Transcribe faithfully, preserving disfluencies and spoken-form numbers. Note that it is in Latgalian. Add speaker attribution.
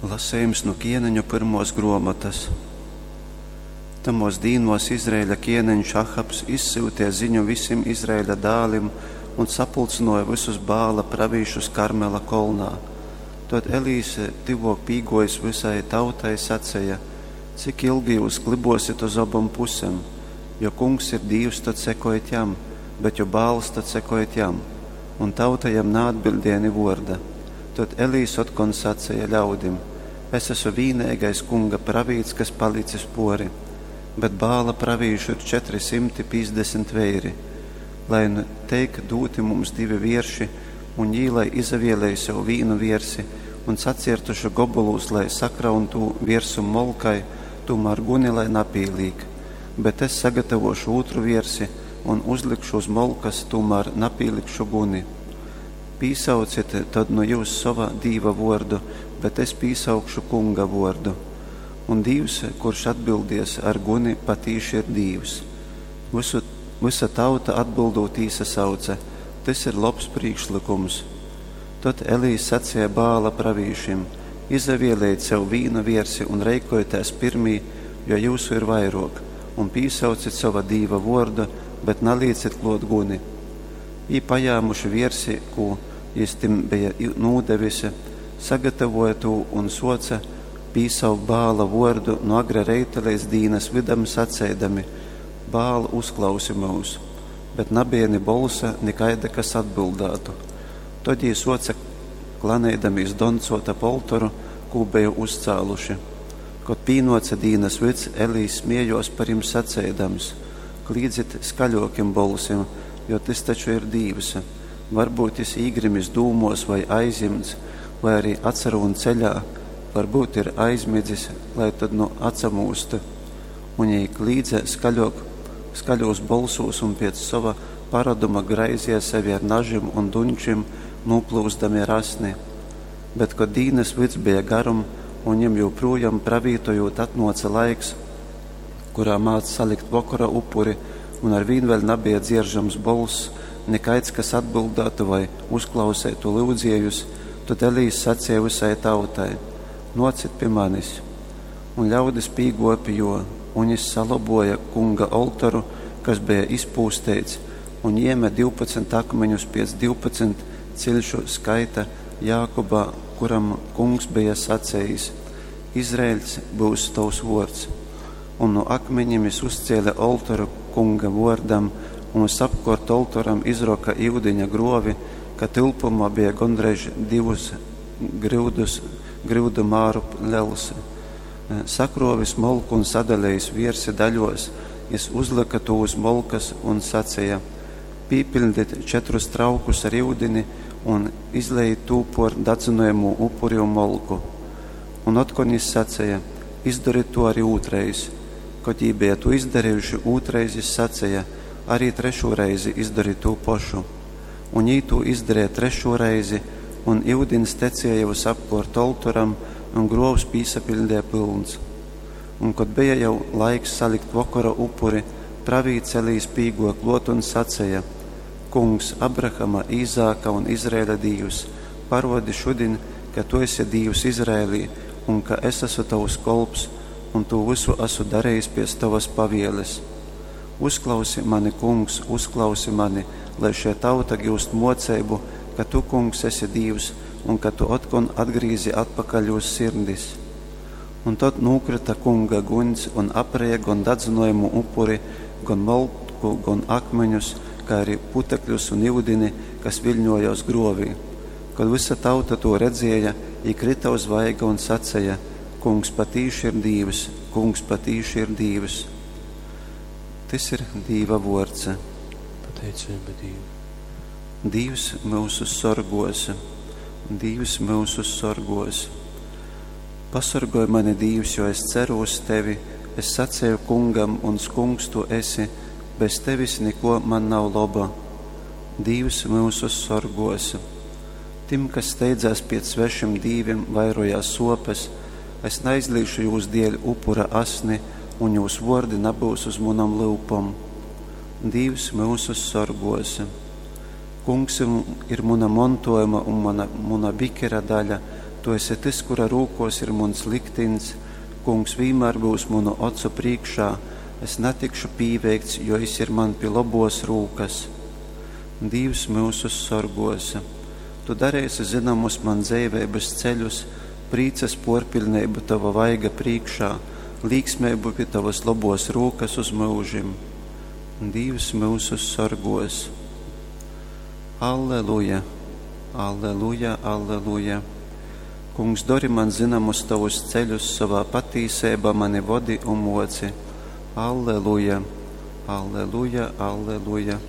Speaker 1: Lasejums nu Kieneņu pyrmuos gruomotys. Tamuos dīnuos Izraeļa kieneņš Ahabs izsyuteja ziņu vysim Izraeļa dālim un sapulcynuoja vysus Baala pravīšus Karmela kolnā. Tod Elijs, tyvuok pīguojis vysai tautai, saceja: Cik ilgi jyus klybuosit uz obom pusem? Jo Kungs ir Dīvs, tod sekojit jam, bet jo Baals, tod sekojit jam. Un tauta jam naatbiļdēja ni vuorda. Tod Elijs otkon saceja ļaudim: Es asu vīneigais Kunga pravīts, kas palicis puori, bet Baala pravīšu ir četri symti pīcdesmit veiri. Lai nu teik dūti mums divi vierši, un jī lai izavielej sev vīnu viersi, un saciertuši gobolūs lai sakraun tū viersum molkai, tūmār guni lai napīlīk. Bet es sagatavošu ūtru viersi un uzlikšu uz molkas, tūmār napīlikšu guni. Pīsaucit tod nu jyus sova dīva vuordu, bet es pīsaukšu Kunga vuordu. Un Dīvs, kurš atbildies ar guni, patīši ir Dīvs. Vysu, vysa tauta atbildūt īsasauce: Tys ir lobs prīkšlykums. Tod Elijs saceja Baala pravīšim: Izavielejit sev vīnu viersi un reikojitēs pyrmī, jo jyusu ir vairuok, un pīsaucit sova dīva vuordu, bet nalīcit kluot guni. Jī, pajāmuši viersi, kū jis tim beja nūdevis, sagatavoja tū un suoce pīsaukt Baala vuordu nu agra reita leidz dīnas vydam, saceidami: Baal, uzklausi myus! Bet nabeja ni bolsa, ni kaida, kas atbyldātu. Tod jī suoce klaneidamīs doncuot ap oltoru, kū beja uzcāluši. Kod pīnuoce dīnas vyds, Elijs smiejuos par jim saceidams: Klīdzit skaļuokim bolsim, jo tys taču ir dīvs! Varbyut jis īgrimis dūmuos voi aizjimts, voi ari atsarūn ceļā, varbyut ir aizmidzis, lai tod nu atsamūst. Un jī klīdze skaļuok, skaļūs bolsūs un piec sova paroduma graizeja sevi ar nažim un dunčim, nūplyuzdami ar asni. Bet kod dīnas vyds beja garum, un jim jūprūjom pravītojūt atnuoce laiks, kurā mādz salikt vokora upuri, un arvīn vēļ nabeja dzieržams bolss, nikaids, kas atbyldātu vai uzklauseitu lyudziejus, tod Elijs saceja vysai tautai: Nuocit pi manis! Un ļaudis pīguoja pi juo, un jis salobuoja Kunga oltoru, kas beja izpūsteits, un jēme divpadsmit akmeņus piec divpadsmit ciļšu skaita Jākuba, kuram Kungs beja sacejis: Izraeļs byus tovs vuords. Un nu akmeņim jis uzcēle oltoru Kunga vuordam, un vysapkuort oltoram izroka iudiņa gruovi, ka tylpumā beja gondreiž divus gryudus, gryudu māru lels. Sakruovis molku un sadalejis viersi daļuos, jis uzlyka tū uz molkas un saceja: Pīpiļdit četrus traukus ar iudini un izlejit tū puor dadzynojamū upuri un molku. Un otkon jis saceja: Izdorit tū ari ūtrreiz. Kod jī beja tū izdarejuši ūtrreiz, jis saceja: Ari trešū reizi izdorit tū pošu. Un jī tū izdareja trešū reizi, un iudins tecēja vysapkuort oltoram, un gruovs pīsapiļdeja pylns. Un kod beja jau laiks salikt vokora upuri, pravīts Elijs pīguoja kluot un saceja: Kungs, Abrahama, Īzāka un Izraeļa Dīvs, paruodi šudiņ, ka tu esi Dīvs Izraelī un ka es asu tovs kolps un tū vysu asu darejis piec tovas pavieles. Uzklausi mani, Kungs, uzklausi mani, lai šei tauta giust muoceibu, ka tu, Kungs, esi Dīvs un ka tu otkon atgrīzi atpakaļ jūs sirdis. Un tod nūkryta Kunga guņs un apreja gon dadzynojamū upuri, gon molku, gon akmeņus, kai ari putekļus un iudini, kas viļņuojuos gruovī. Kod vysa tauta tū redzēja, jī kryta uz vaiga un saceja: Kungs patīši ir Dīvs, Kungs patīši ir Dīvs. Tys ir Dīva vuords.
Speaker 2: Pateiceiba Dīvam.
Speaker 1: Dīvs myusus sorguos, Dīvs myusus sorguos. Pasorgoj mani, Dīvs, jo es ceru uz tevi. Es saceju Kungam, muns Kungs tu esi, bez tevis nikuo man nav loba. Dīvs myusus sorguos. Tim, kas steidzās piec svešim dīvim, vairojās suopes, es naizlīšu jūs dieļ upura asni, un jūs vuordi nabyus uz munom lyupom. Dīvs myusus sorguos. Kungs ir muna montuojuma un mana, muna bikera daļa, Tu esi tys, kura rūkōs ir muns liktiņs, Kungs vīnmār byus munu ocu prīškā, es natikšu pīveikts, jo jys ir man pi lobōs rūkas. Dīvs myusus sorgōs. Tu dareisi zynomus man dzeiveibas ceļus, prīcas pōrpiļneibu tova vaiga prīškā, līksmeibu pi tovas lobōs rūkas uz myužim. Dīvs myusus sorgōs. Alleluja, alleluja, alleluja. Kungs, dori man zynomus tovus ceļus, sovā patīseibā mani vodi un moci. Alleluja, alleluja, alleluja.